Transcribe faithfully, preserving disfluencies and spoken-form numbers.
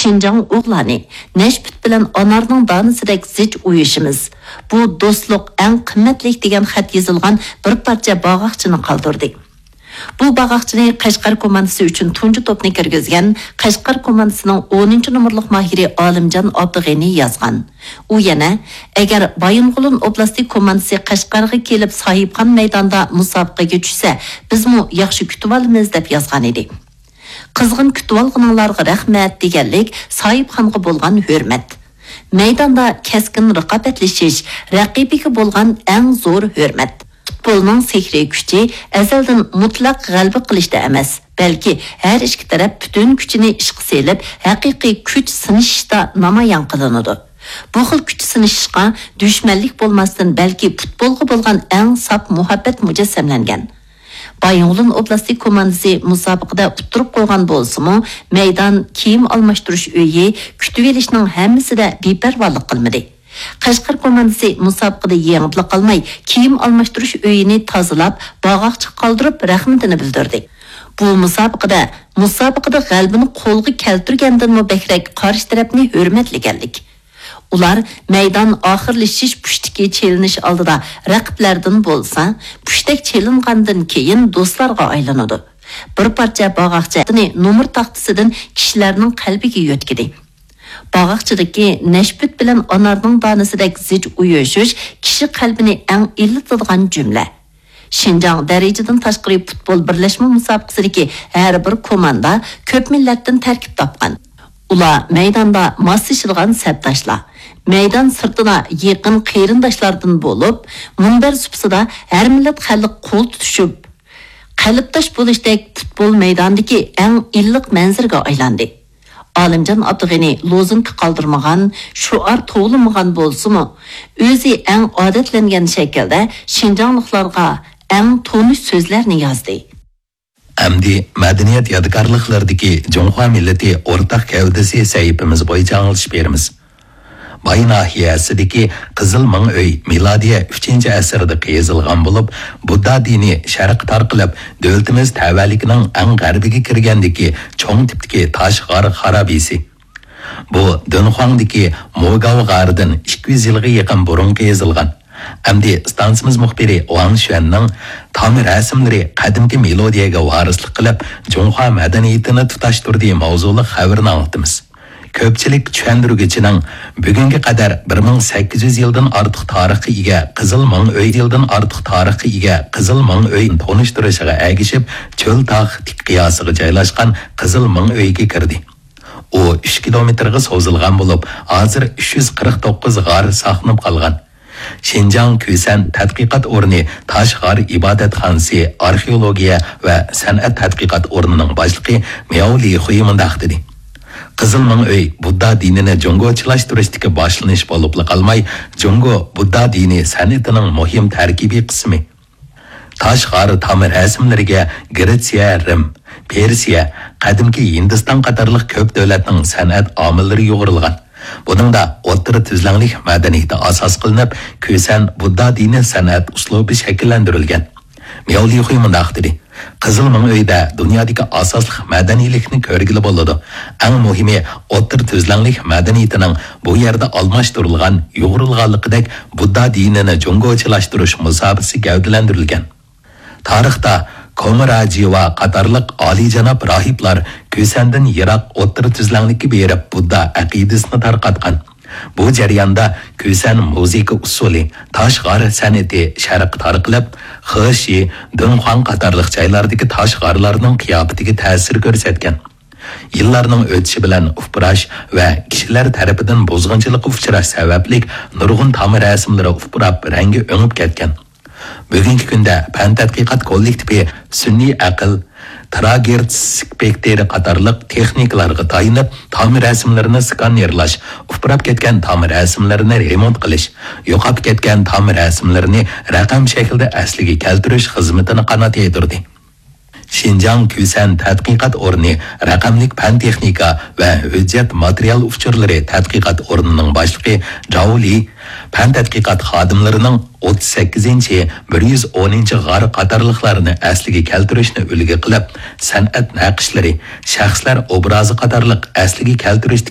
شىنجاڭ ئوغلانى، نەشپۈت بىلەن ئانارنىڭ دانىسىدەك زىچ ئۇيۇشىمىز، بۇ دوستلۇق ئەڭ قىممەتلىك دېگەن خەت يېزىلغان بىر پارچە باغاقچىنى قالدۇردى. بۇ باغاقچىنى قەشقەر كوماندىسى ئۈچۈن تۇنجى توپنى كىرگۈزگەن قەشقەر كوماندىسىنىڭ ئونىنچى نومۇرلۇق ماھىرى ئالىمجان ئابدۇغېنى يازغان. ئۇ يەنە، ئەگەر بايىنغولىن ئوبلاستى كوماندىسى قەشقەرگە كېلىپ ساھىبخان مەيداندا مۇسابىقىگە چۈشسە، بىزمۇ ياخشى كۈتۈۋالىمىز، دەپ يازغانىدى. قىزغىن كۈتۈۋالغىنىڭلارغا رەھمەت دېگەنلىك ساھىبخانغا بولغان ھۆرمەت. مەيداندا كەسكىن رىقابەتلىشىش، رەقىبىگە بولغان ئەڭ زور ھۆرمەت. پۇتبولنىڭ سېھرىي كۈچى ئەزەلدىن مۇتلەق غەلىبە قىلىشتا ئەمەس، بەلكى ھەر ئىككى تەرەپ پۈتۈن كۈچىنى ئىشقا سېلىپ، ھەقىقىي كۈچ سىنىشىشتا نامايان قىلىنىدۇ. بۇ خىل كۈچ سىنىشىشقا دۈشمەنلىك بولماستىن، بەلكى پۇتبولغا بولغان ئەڭ ساپ مۇھەببەت مۇجەسسەملەنگەن. بايىنغولىن ئوبلاستى كوماندىسى مۇسابىقىدە ئۇتتۇرۇپ قويغان بولسىمۇ، مەيدان، كىيىم ئالماشتۇرۇش ئۆيى، كۈتۈۋېلىشنىڭ ھەممىسىدە بىپەرۋالىق قىلمىدى. قەشقەر كوماندىسى مۇسابىقىدە يېڭىپلا قالماي، كىيىم ئالماشتۇرۇش ئۆيىنى تازىلاپ، باغاقچىغا قالدۇرۇپ، رەھمىتىنى بىلدۈردى. بۇ مۇسابىقىدە، مۇسابىقىدە غەلىبىنى قولغا كەلتۈرگەندىنمۇ بەكرەك قارشى تەرەپنى ھۆرمەتلىگەنلىك. ئۇلار مەيدان ئاخىرلىشىش پۇشتىكى چېلىنىش ئالدىدا رەقىبلەردىن بولسا، پۇشتەك چېلىنغاندىن كېيىن دوستلارغا ئايلىنىدۇ. بىر پارچە باغاقچىنى نومۇر تاختىسىدىن كىشىلەرنىڭ قەلبىگە يۆتكىدى. باغاقچىدىكى نەشپۈت بىلەن ئانارنىڭ دانىسىدەك زىچ ئۇيۇشۇش كىشى قەلبىنى ئەڭ ئىللىتىدىغان جۈملە. شىنجاڭ دەرىجىدىن تاشقىرى پۇتبول بىرلەشمە مۇسابىقىسىدىكى ھەر بىر كوماندا كۆپ مىللەتتىن تەركىب تاپقان. ئۇلار مەيداندا ماسلىشىدىغان سەپداشلار، مەيدان سىرتىدا يېقىن قېرىنداشلاردىن بولۇپ، مۇنبەر سۇپىسىدا ھەر مىللەت خەلق قول تۇتۇشۇپ، قەلبداش بولۇشتەك پۇتبول مەيدانىدىكى ئەڭ ئىللىق مەنزىرىگە ئايلاندى. ئالىمجان ئابدۇغېنى لوزۇنكا قالدۇرمىغان، شوئار توۋلىمىغان بولسىمۇ، ئۆزى ئەڭ ئادەتلەنگەن شەكىلدە شىنجاڭلىقلارغا ئەڭ تونۇش سۆزلەرنى يازدى. ئەمدى مەدەنىيەت يادىكارلىقلىرىدىكى جۇڭخۇا مىللىتى ئورتاق گەۋدىسى سەھىپىمىز بويىچە ئاڭلىتىش بېرىمىز. باي ناھىيەسىدىكى قىزىل مىڭ ئۆي مىلادىيە ئۈچىنچى ئەسىردە قېزىلغان بولۇپ، بۇددا دىنى شەرققە تارقىلىپ، دۆلىتىمىز تەۋەلىكىنىڭ ئەڭ غەربىگە كىرگەندىكى چوڭ تىپتىكى تاش غار خارابىسى. بۇ دۇنخۇاڭدىكى موگاۋ غارىدىن ئىككى يۈز يىلغا يېقىن بۇرۇن قېزىلغان. ئەمدى ئىستانسىمىز مۇخبىرى ۋاڭ شۈەننىڭ تام رەسىملىرى قەدىمكى مىلادىيەگە ۋارىسلىق قىلىپ، جۇڭخۇا مەدەنىيىتىنى تۇتاشتۇردى ماۋزۇلۇق خەۋىرىنى ئاڭلىتىمىز. كۆپچىلىك چۈشەندۈرگۈچىنىڭ بۈگۈنگە قەدەر بىر مىڭ سەككىز يۈز يىلدىن ئارتۇق تارىخقا ئىگە قىزىل مىڭ ئۆي، يىلدىن ئارتۇق تارىخقا ئىگە قىزىل مىڭ ئۆي تونۇشتۇرۇشىغا ئەگىشىپ، چۆل تاغ تىك قىياسىغا جايلاشقان قىزىل مىڭ ئۆيگە كىردى. ئۇ ئۈچ كىلومېتىرغا سوزۇلغان بولۇپ، ھازىر ئۈچ يۈز قىرىق توققۇز غار ساقلىنىپ قالغان. شىنجاڭ كۈسەن تەتقىقات ئورنى تاش غار ئىبادەتخانىسى ئارخېئولوگىيە ۋە سەنئەت تەتقىقات ئورنىنىڭ باشلىقى مياۋ لىخۇي مۇنداق دېدى: قىزىل مىڭ ئۆي بۇددا دىنىنى جۇڭگوچىلاشتۇرۇشتىكى باشلىنىش بولۇپلا قالماي، جۇڭگو بۇددا دىنى سەنئىتىنىڭ مۇھىم تەركىبىي قىسمى. تاش غار تام رەسىملىرىگە گرېتسىيە، رىم، پېرسىيە، قەدىمكى ھىندىستان قاتارلىق كۆپ دۆلەتنىڭ سەنئەت ئامىللىرى يۇغۇرۇلغان. بۇنىڭدا ئوتتۇرا تۈزلەڭلىك مەدەنىيىتى ئاساس قىلىنىپ، كۈسەن بۇددا دىنى سەنئەت ئۇسلۇبى شەكىللەندۈرۈلگەن. مياۋ لىخۇي مۇنداق دېدى: قىزىل مىڭ ئۆيدە دۇنيادىكى ئاساسلىق مەدەنىيلىكنى كۆرگىلى بولىدۇ. ئەڭ مۇھىمى، ئوتتۇرا تۈزلەڭلىك مەدەنىيىتىنىڭ بۇ يەردە ئالماشتۇرۇلغان، يۇغۇرۇلغانلىقىدەك بۇددا دىنىنى جۇڭگوچىلاشتۇرۇش مۇساپىسى گەۋدىلەندۈرۈلگەن. تارىختا كومراجىۋا قاتارلىق ئالىيجاناب راھىبلار كۈسەندىن يىراق ئوتتۇرا تۈزلەڭلىككە بېرىپ بۇددا ئەقىدىسىنى تارقاتقان. بۇ جەرياندا كۈسەن مۇزىكا ئۇسسۇلى، تاش غار سەنئىتى شەرققە تارقىلىپ، خېشى، دۇنخۇاڭ قاتارلىق جايلاردىكى تاش غارلارنىڭ قىياپىتىگە تەسىر كۆرسەتكەن. يىللارنىڭ ئۆتۈشى بىلەن ئۇپراش ۋە كىشىلەر تەرىپىدىن بۇزغۇنچىلىققا ئۇچراش سەۋەبلىك نۇرغۇن تام رەسىملىرى ئۇپراپ، رەڭگى ئۆڭۈپ كەتكەن. بۈگۈنكى كۈندە پەن تەتقىقات كوللېكتىپى سۈنئىي ئەقىل، تېراگېرتس سپېكتىرى قاتارلىق تېخنىكىلارغا تايىنىپ، تام رەسىملىرىنى سكانېرلاش، ئۇپراپ كەتكەن تام رەسىملىرىنى رېمونت قىلىش، يوقاپ كەتكەن تام رەسىملىرىنى رەقەم شەكلىدە ئەسلىگە كەلتۈرۈش خىزمىتىنى قانات يايدۇردى. شىنجاڭ كۈسەن تەتقىقات ئورنى رەقەملىك پەن تېخنىكا ۋە ھۆججەت ماتېرىيال ئۇچۇرلىرى تەتقىقات ئورنىنىڭ باشلىقى جاۋ لى پەن تەتقىقات خادىملىرىنىڭ ئوتتۇز سەككىزىنچى، بىر يۈز ئونىنچى غار قاتارلىقلارنى ئەسلىگە كەلتۈرۈشنى ئۈلگە قىلىپ، سەنئەت نەقىشلىرى، شەخسلەر ئوبرازى قاتارلىق ئەسلىگە كەلتۈرۈشتىكى